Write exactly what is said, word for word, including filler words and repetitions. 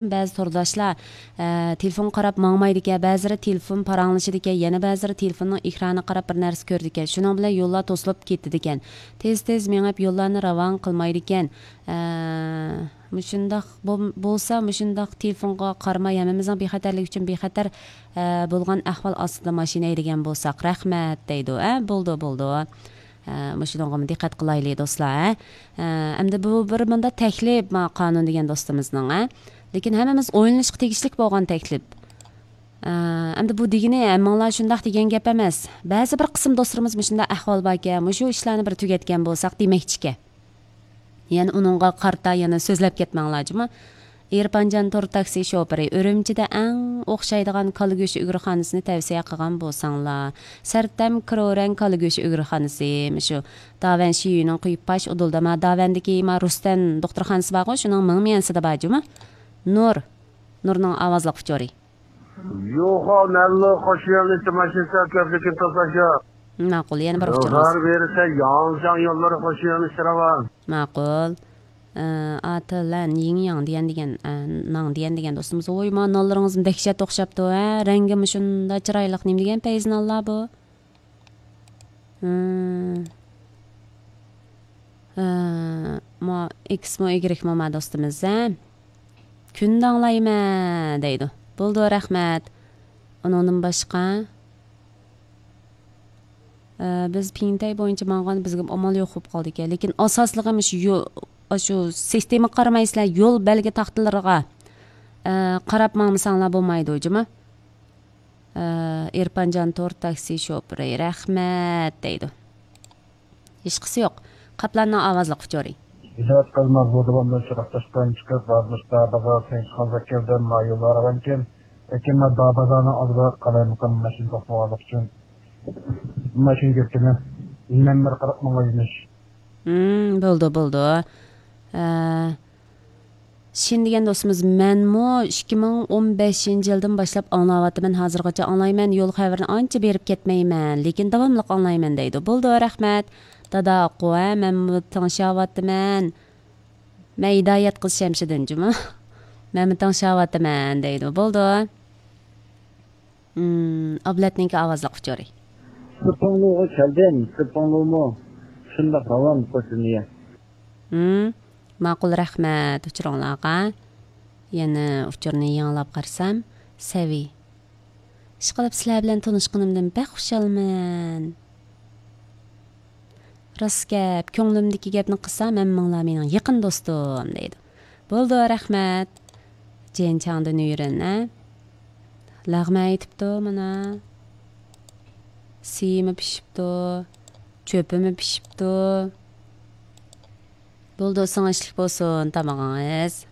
بەزى تورداشلار، ئە، تېلېفونغا قاراپ ماڭمايدىكەن، بەزىلىرى تېلېفون پاراڭلىشىدىكەن، يەنە بەزىلىرى تېلېفوننىڭ ئېكرانىغا قاراپ بىر نەرسە كۆرىدىكەن. شۇنىڭ بىلەن يوللار توسۇلۇپ كېتىدىكەن. تېز-تېز مېڭىپ يوللارنى راۋان قىلمايدىكەن. ئە، مۇشۇنداق بول-، بولسا، مۇشۇنداق تېلېفونغا قارىماي، ھەممىمىزنىڭ بىخەتەرلىكى ئۈچۈن بىخەتەر، ئە، بولغان ئەھۋال ئاستىدا ماشىنا ھەيدىگەن بولساق، رەھمەت دەيدۇ. ئە، بولىدۇ، بولىدۇ. ئە، مۇشۇنىڭغىمۇ دىققەت قىلايلى، دوستلار، ھە. ئە، ئەمدى بۇ بىر مۇنداق تەكلىپ، ما، قانۇن دېگەن دوستىمىزنىڭ، ھە. لېكىن ھەممىمىز ئويلىنىشقا تېگىشلىك بولغان تەكلىپ. ئە، ئەمدى بۇ دېگىنى ھەممىڭلار شۇنداق دېگەن گەپ ئەمەس. بەزى بىر قىسىم دوستلىرىمىز مۇشۇنداق ئەھۋال باركەن، مۇشۇ ئىشلارنى بىر تۈگەتكەن بولساق دېمەكچىكەن. يەنە ئۇنىڭغا قارىتا يەنە سۆزلەپ كەتمەڭلار جۇمۇ. ئېرپانجان تور تاكسى شوپۇرى، ئۈرۈمچىدە ئەڭ ئوخشايدىغان كالا گۆشى ئۈگرىخانىسىنى تەۋسىيە قىلغان بولساڭلار. سەرتەم كرورەن كالا گۆشى ئۈگرىخانىسى، مۇشۇ داۋەن شىيۈنىڭ قويۇپ پاش ئۇدۇلدا، ما داۋەندىكى ما رۇستەن دوختۇرخانىسى بارغۇ، شۇنىڭ مىڭ ميەنسىدە بار جۇمۇ. نۇر، نۇرنىڭ ئاۋازلىق ئۇچۇرى. يوخا مەللۇ خوشيەنلى تىماشىسا كۆپلۈكىن توساشا. ماقۇل، يەنە بىر ئۇچۇرىمىز. يوخار بېرىسە ياڭجاڭ يوللىرى خوشيەنلى شىراۋان. ماقۇل. ئە، ئاتىلەن يىڭياڭ دېگەن، دېگەن، ئە، ناڭ دېگەن، دېگەن دوستىمىز. ۋوي، ما نانلىرىڭىزمۇ دەھشەت ئوخشاپتۇ، ھە؟ رەڭگىمۇ شۇنداق چىرايلىق. نېمە دېگەن پەيزى نانلار بۇ؟ ھىم. ئە، ما ئېكسمۇ ئىگرېكمۇ ما دوستىمىز، ھە؟ كۈندە ئاڭلايمەن دەيدۇ. بولىدۇ، رەھمەت. ئۇنىڭدىن باشقا، ئە، بىز پىڭتەي بويىچە ماڭغان، بىزگە ئامال يوق بولۇپ قالدىكەن. لېكىن ئاساسلىقى مۇشۇ يو-، ئاشۇ سىستېمىغا قارىمايسىلەر، يول بەلگە تاختىلىرىغا، ئە، قاراپ ماڭمىساڭلار بولمايدۇ، جۇمۇ. ئە، ئېرپانجان تور تاكسى شوپۇرى، رەھمەت دەيدۇ. ھېچقىسى يوق. قاپلاننىڭ ئاۋازلىق ئۇچۇرى. ھىدايەت قىلما بۇ داۋامدا شىراقداشتىن چىقىپ، بازار، بازار، سەيىتخان زاكىردىن ما يوللار راۋانكەن. لېكىن ما بازارنىڭ ئالدىدا قالايمىقان ماشىنا توختىغانلىقى ئۈچۈن ماشىنا كۆپكىنە نەمبەر قاراپ ماڭايمىش. ھىم، بولدى، بولدى. ئە، شىن دېگەن دوستىمىز، مەنمۇ ئىككى مىڭ ئون بەشىنچى يىلدىن باشلاپ ئاڭلاۋاتىمەن، ھازىرغىچە ئاڭلايمەن، يول خەۋىرىنى ئانچە بېرىپ كەتمەيمەن، لېكىن داۋاملىق ئاڭلايمەن دەيدۇ. بولدى، رەھمەت. دادا ئاققۇ، ھە، مەنمۇ تىڭشاۋاتىمەن. مەن ھىدايەت قىز شەمشىدىن جۇمۇ. مەنمۇ تىڭشاۋاتىمەن دەيدۇ. بولدى. ئابلەتنىڭكى ئاۋازلىق ئۇچۇرى. سىپىڭلۇغا كەلدىم، سىپىڭلۇمۇ شۇنداق راۋان قوشۇنىيە. ھىم، ماقۇل، رەھمەت ئۇچۇرۇڭلارغا. يەنە ئۇچۇرنى يېڭىلاپ قارىسام، سەۋىي. ئىشقىلىپ سىلەر بىلەن تونۇشقىنىمدىن بەك خۇشالمەن. راست گەپ، كۆڭلۈمدىكى گەپنى قىلسام، ھەممىڭلار مېنىڭ يېقىن دوستۇم، دەيدۇ. بولدى، رەھمەت. جيەنچاڭدىن يۈرۈن، ھە؟ لەغمەن ئېتىپتۇ مانا. سىيىمۇ پىشىپتۇ، چۆپىمۇ پىشىپتۇ. بولدى، سىڭىشلىك بولسۇن تامىقىڭىز.